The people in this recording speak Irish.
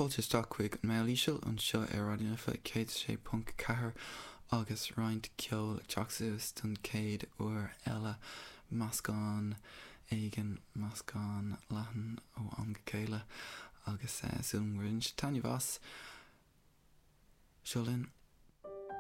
Fáilte isteach chuig an Meall Íseal anseo ar Raidió na Life 106.4 agus roinnt ceoil ag teacht suas don chéad uair eile, meascán éigin, meascán leathan ó am go chéile agus súil agam gur bhain sibh taitneamh as. Seo linn.